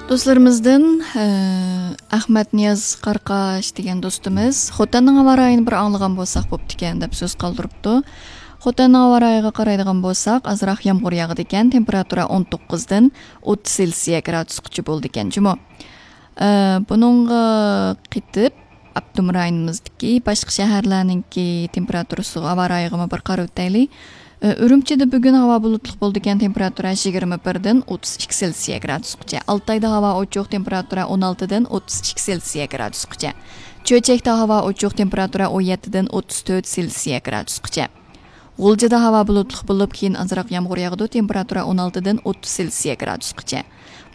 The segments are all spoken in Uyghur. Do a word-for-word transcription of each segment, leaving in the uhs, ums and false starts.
دوستلىرىمىزدىن، ئە، ئەخمەت نىياز قارقاش دېگەن دوستىمىز خوتەننىڭ ھاۋا رايىنى بىر ئاڭلىغان بولساق بوپتىكەن دەپ سۆز قالدۇرۇپتۇ. خوتەننىڭ ھاۋا رايىغا قارايدىغان بولساق، ئازراق يامغۇر ياغىدىكەن، تېمپېراتۇرا ئون توققۇزدىن ئوتتۇز سېلسىيە گرادۇسقىچە بولىدىكەن جۇمۇ. ئە، بۇنىڭغا قېتىپ، ئاپتونوم رايونىمىزدىكى باشقا شەھەرلەرنىڭكى تېمپېراتۇرىسىغا، ھاۋا رايىغىمۇ بىر قاراۋېتەيلى. ئە، ئۈرۈمچىدە بۈگۈن ھاۋا بۇلۇتلۇق بولىدىكەن، تېمپېراتۇرا يىگىرمە بىردىن ئوتتۇز ئىككى سېلسىيە گرادۇسقىچە. ئالتايدا ھاۋا ئوچۇق، تېمپېراتۇرا ئون ئالتىدىن ئوتتۇز ئىككى سېلسىيە گرادۇسقىچە. چۆچەكتە ھاۋا ئوچۇق، تېمپېراتۇرا ئون يەتتىدىن ئوتتۇز تۆت سېلسىيە گرادۇسقىچە. غۇلجىدا ھاۋا بۇلۇتلۇق بولۇپ، كېيىن ئازراق يامغۇر ياغىدۇ، تېمپېراتۇرا ئون ئالتىدىن ئوتتۇز سېلسىيە گرادۇسقىچە.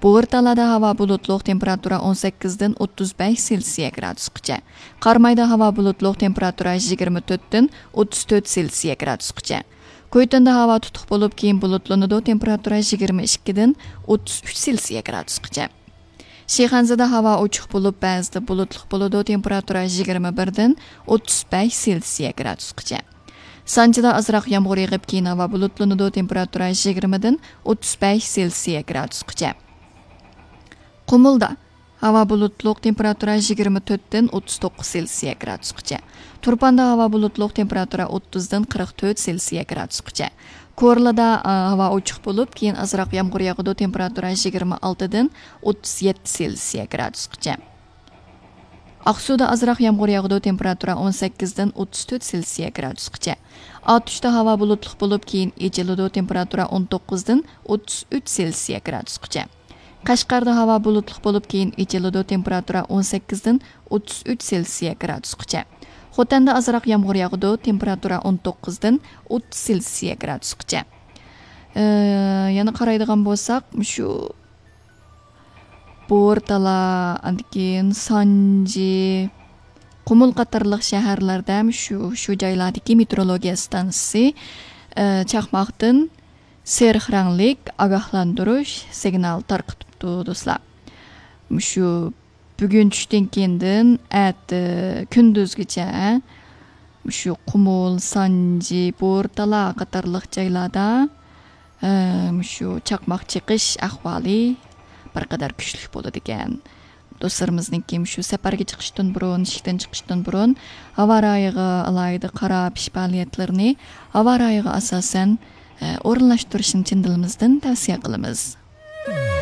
بۇغۇرتالادا ھاۋا بۇلۇتلۇق، تېمپېراتۇرا ئون سەككىزدىن ئوتتۇز بەش سېلسىيە گرادۇسقىچە. قارامايدا ھاۋا بۇلۇتلۇق، تېمپېراتۇرا يىگىرمە تۆتتىن ئوتتۇز تۆت سېلسىيە گرادۇسقىچە. كويتۇندا ھاۋا تۇتۇق بولۇپ، كېيىن بۇلۇتلىنىدۇ، تېمپېراتۇرا يىگىرمە ئىككىدىن ئوتتۇز ئۈچ سېلسىيە گرادۇسقىچە. شىخەنزىدە ھاۋا ئوچۇق بولۇپ، بەزىدە بۇلۇتلۇق بولىدۇ، تېمپېراتۇرا يىگىرمە بىردىن ئوتتۇز بەش سېلسىيە گرادۇسقىچە. سانجىدا ئازراق يامغۇر يېغىپ، كېيىن ھاۋا بۇلۇتلىنىدۇ، تېمپېراتۇرا يىگىرمىدىن ئوتتۇز بەش سېلسىيە گرادۇسقىچە. قۇمۇلدا ھاۋا بۇلۇتلۇق، تېمپېراتۇرا يىگىرمە تۆتتىن ئوتتۇز توققۇز سېلسىيە گرادۇسقىچە. تۇرپاندا ھاۋا بۇلۇتلۇق، تېمپېراتۇرا ئوتتۇزدىن قىرىق تۆت سېلسىيە گرادۇسقىچە. كورلىدا، ئا، ھاۋا ئوچۇق بولۇپ، كېيىن ئازراق يامغۇر ياغىدۇ، تېمپېراتۇرا يىگىرمە ئالتىدىن ئوتتۇز يەتتە سېلسىيە گرادۇسقىچە. ئاقسۇدا ئازراق يامغۇر ياغىدۇ، تېمپېراتۇرا ئون سەككىزدىن ئوتتۇز تۆت سېلسىيە گرادۇسقىچە. ئاتۇشتا ھاۋا بۇلۇتلۇق بولۇپ، كېيىن ئېچىلىدۇ، تېمپېراتۇرا ئون توققۇزدىن ئوتتۇز ئۈچ سېلسىيە گرادۇسقىچە. قەشقەردە ھاۋا بۇلۇتلۇق بولۇپ، كېيىن ئېچىلىدۇ، تېمپېراتۇرا ئون سەككىزدىن ئوتتۇز ئۈچ سېلسىيە گرادۇسقىچە. خوتەندە ئازراق يامغۇر ياغىدۇ، تېمپېراتۇرا ئون توققۇزدىن ئوتتۇز سېلسىيە گرادۇسقىچە. ئى، يەنە قارايدىغان بولساق، مۇشۇ بورتالا، ئاندىن كېيىن سانجى، قۇمۇل قاتارلىق شەھەرلەردە شۇ، شۇ جايلاردىكى مېتېئورولوگىيە ئىستانسىسى، ئى، چاقماقتىن سېرىق رەڭلىك ئاگاھلاندۇرۇش سىگنال تارقىتىپتۇ، دوستلار. مۇشۇ بۈگۈن چۈشتىن كېيىندىن ئەتە كۈندۈزگىچە مۇشۇ قۇمۇل، سانجى، بورتالا قاتارلىق جايلاردا، ئە، مۇشۇ چاقماق چېقىش ئەھۋالى بىر قەدەر كۈچلۈك بولىدىكەن. دوستلىرىمىزنىڭكى مۇشۇ سەپەرگە چىقىشتىن بۇرۇن، ئىشىكتىن چىقىشتىن بۇرۇن ھاۋا رايىغا ئالاھىدە قاراپ، ئىش پائالىيەتلىرىنى ھاۋا رايىغا ئاساسەن، ئە، ئورۇنلاشتۇرۇشنى چىن دىلىمىزدىن تەۋسىيە قىلىمىز.